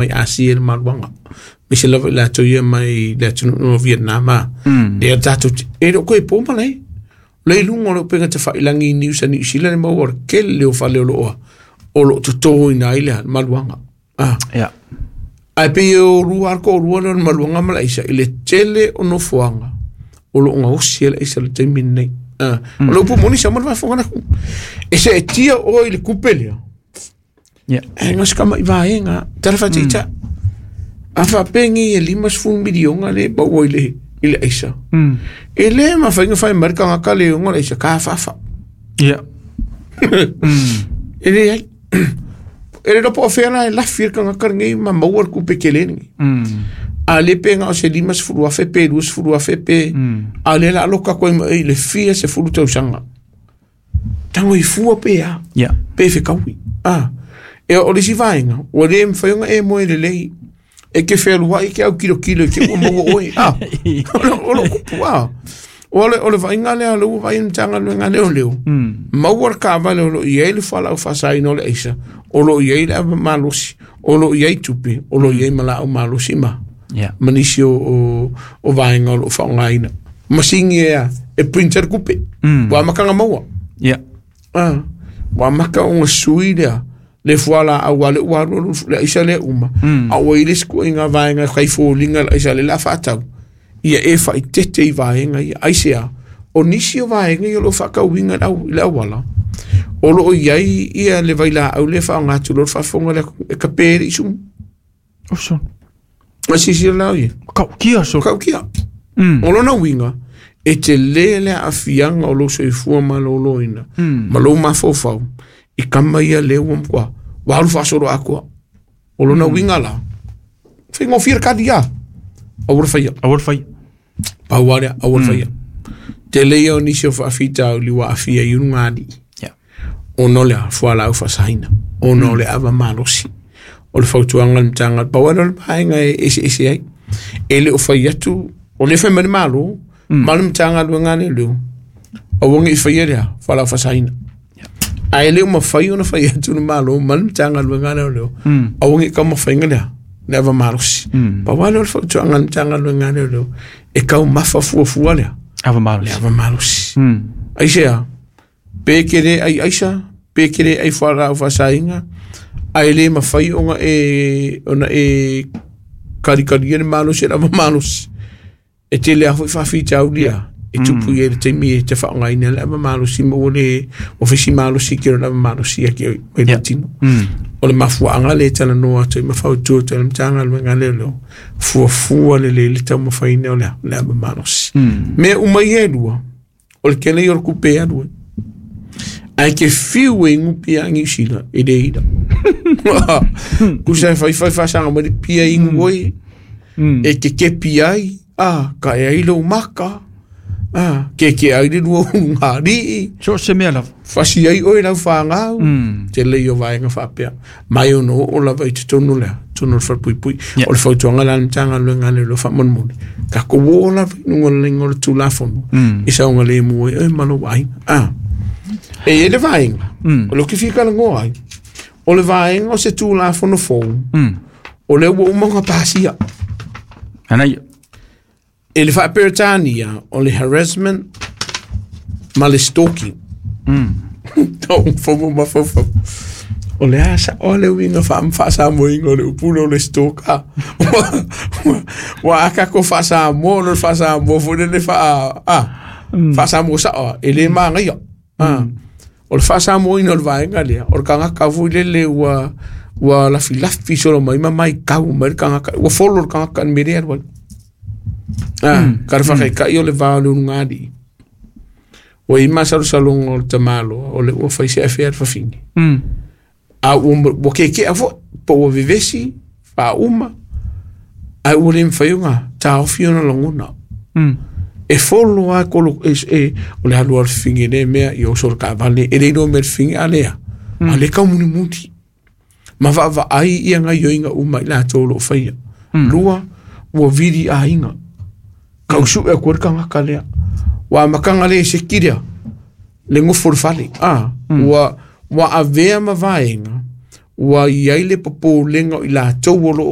Mai Asia i le maluaga. Aemaise lava i latou ia mai le atunuu o Vietnam a. Lea tatou te, e le o toe po malae. O lea i luga o le upega tafailagi i Niu Sa Niu Sila le maua o le tele o fale o lo o o lo o totoina ai le maluaga. Ah. Yeah. Ae pei e o lua lava le toalua lea o le maluaga ma le aisa i le tele o nofoaga o lo o gaosi ai le aisa i le taimi lenei. Ah. O le upu moni sa mo le faafofoga atu. E seetia oe i le tupe lea, Yeah. E na o se tama'i vaega tala faataitai. A faapea nei e 50 miliona le maua i le i le aisa. E le mafai ona fai mai le tagata le ona le aisa ka faafa. Yeah. E leai. E le iloa po o fea la e lafi ai le tagata lenei ma maua le tupe tele lenei. A le pe na o se 50,000 pe 20,000 pe a o lea o le a loka atu ai ma oe i le fia sefulu tausaga. Tago i fua pe a, Yeah. pe fekaui. Ah. E o le isi vaega, ua le mafai ona e moe lelei. E ke fealuai ke autilo i te i ua maua oe. Ah. O lo kupu, ah. O le, o le vaaiga lea, o lea ua vaai le Matagaluega a Leoleo, maua le taavale o lo o i ai le fualaau faasaina o le aisa, o lo o i ai le ava malosi, o lo o i ai tupe, o lo o i ai ma laau malosi ma, Yeah. ma nisi o, o, o vaega o lo o faaaogaina. Masini e a, e printer kupe. Ua amata ona maua. Yeah. Ah, ua amata ona sui lea le fualaau a le ua alu alu le aisa lea uma. A ua i le isi ituaiga vaega e fai foliga le aisa lea o le a faatau. Ia e faaeteete i vaega ia. Aisea? O nisi o vaega ia o lo o faatauina i le au- i le auala, o lo o i ai ia le vailaau lea e faaaoga atu loa le faafofoga a le atunuu e tape ai le isumu. Oso. A silasila la oe? Matautia so. Matautia. O lona uiga, e tele le aafiaga o lou soifua maloloina ma lou mafaufau i tama ia lea ua matua ua alu faasoloatoa. O lona uiga la, faigofie le kali a, aua le faia. Aua le faia. Pau lava lea, aua le faia. Tele ia o nisi o faafitauli ua aafia i ulugalii. Yeah. Ona o le a? Fualaau faasaina. Ona o le ava malosi. O le fautuaga a le Matagaluega, pau lava lea o le vaega e eseese ai. E le o fai atu, o lea e fai mai le Malo ma le Matagaluega a Leoleo, aua ne i faia le a? Fualaau faasaina. Ae le o mafai ona fai atu le Malo ma le Matagaluega a Leoleo, aua ne i taumafaina le a? Le ava malosi. Pau lava lea o le fautuaga a le Matagaluega a Leoleo, e taumafa fuafua le a? Ava malosi. Le ava malosi. Aisea? Pe e te le ai aisa, pe e te le ai fualaau faasaina, ae le mafai ona e, ona e kalikalia le malosi e le ava malosi. E tele lava foi faafitauli ia e tupu i ai le taimi e te faaaogaina ai le ava malosi ma ua le ua fai si malosi ki o le ava malosi ia ki mai le tino. O le mafuaaga lea e talanoa atu ai ma fautua atu ai le Matagaluega a Leoleo, fuafua lelei le taumafaiina o le le ava malosi. Mea uma ia e lua, o le tele ia o le tupe e alu ai. Ae ke fiu e inu pia a Niu Sila, e le ila. Tusa e fai fai faasaga mai le pia inu oe, e kekepi ai, a, ka e ai lou maka, a, keke ai le lua ulugalii. So o se mea lava. Fasi ai oe i lau fanau, tele ia o vaega faapea. Mai ono oo lava i totonu lea, totonu o le falepuipui. Yeah. O le fautuaga la a le Matagaluega a Leoleo faamolemole, tatou oo lava i luga o le laina o le Tulafono, i saogalemu ai oe ma lou aiga. A, e i ai le vaega, o lea ou te fia talanoa ai, o le vaega o se Tulafono fou, o lea ua uma ona pasia. Anaia. E le Faa-Peretania, o le harassment ma le stalking. Tau fomo mafaufau. O le a sao le uiga faa-Samoaina o le upu lea o le stalker. Ua a tatou faa-Samoa, ona o le faa-Samoa foi lele faa, a, faa-Samoa sao lava, e le manaia. A, o le faa-Samoaina o le vaega lea, o le tagata foi lele ua ua lafilafi solo mai ma matau mai le tagata, ua follow le tagata i le mea lea e alu ai. A, ka le faataitai o le va o le ulugalii. Ua i ai masalosaloga o le tamaloa o lea ua fai se afea le fafine. A ua, ua keke'a foi, po ua vevesi, faauma, ae ua le mafai ona taofi ona lagona. E follow lava kolo, e, e, o le alu a le fafine i lea mea, ia oso i le taavale, e le iloa mea le fafine, a lea, a lea e taumunimuli. Ma vaavaai ia gaioiga uma i latou o lo o faia. Lua, ua vili aiga. Tau sue atu ai le tagata lea. Ua amataga le seki lea, le nofo i le fale. A, ua, ua avea ma vaega, Ua i ai le popolega o i latou o lo o